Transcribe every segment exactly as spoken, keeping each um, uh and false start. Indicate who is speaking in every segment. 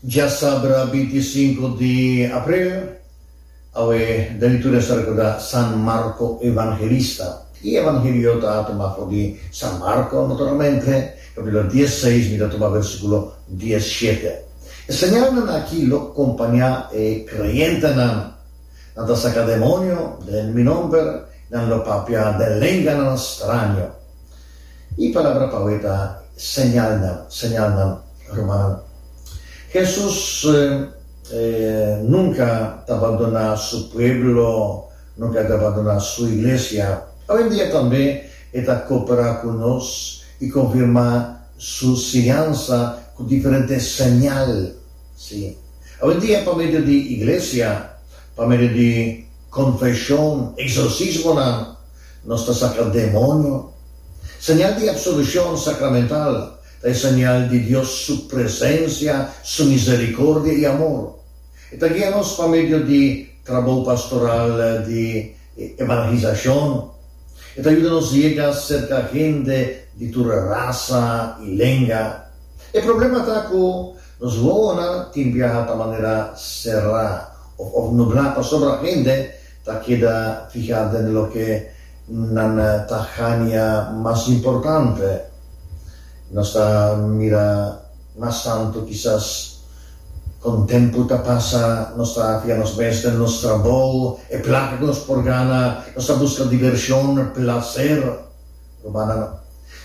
Speaker 1: Djasabra binti sinku di april, awe den liturgia nos ta rekorda San Marko Evangelista. E Evangelio ta tuma for di San Marko, naturalmente, kapítulo diesseis, mi ta tuma versíkulo diesshete. E señalnan aki lo kompañá e kreyentenan. Nan ta saka demonio den mi nòmber, nan lo papia den lenganan straño. E palabra pa awe ta señalnan, señalnan, rumannan. Hesus nunka ta bandoná su pueblo, nunka e ta bandoná su iglesia. Awendia tambe e ta koperá ku nos i konfirmá su siñansa ku diferente señal. Sí, awendia pa medio di iglesia, pa medio di konfeshon, eksorsismonan, nos ta saka demonio. Señal di apsolushon sakramental ta e señal di Dios su presensia, su miserikordia i amor. E ta guia nos pa medio di trabou pastoral di evangelisashon. E ta yuda nos yega serka hende di tur rasa i lenga. E problema ta ku nos wowonan tin biaha ta manera será òf òf nublá pasobra hende ta keda fihá den loke nan ta haña mas importante. Nos ta mira mas tantu kisas kon tempu ta pasa, nos ta fia nos mes den nos trabou, e plaka ku nos por gana, nos ta buska divershon, plaser. Rumannan,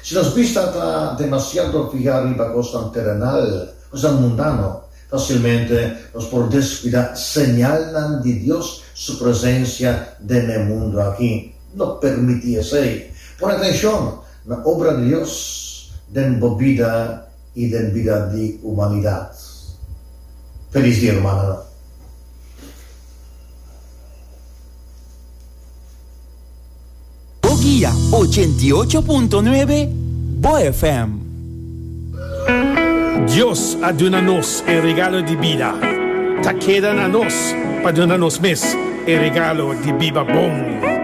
Speaker 1: si nos bista ta demasiado fihá riba kosnan terenal, kosnan mundano, fasilmente nos por deskuidá señalnan di Dios su presensia den e mundu aki. No permití esei. Pone atenshon na obra di Dios den bo bida i den bida di humanidat. Felis dia, rumannan.
Speaker 2: Bo guia ochenta i ocho punto nuebe, Bo F M.
Speaker 3: Dios a duna nos e regalo di bida. Ta keda na nos pa duna nos mes e regalo di biba bon.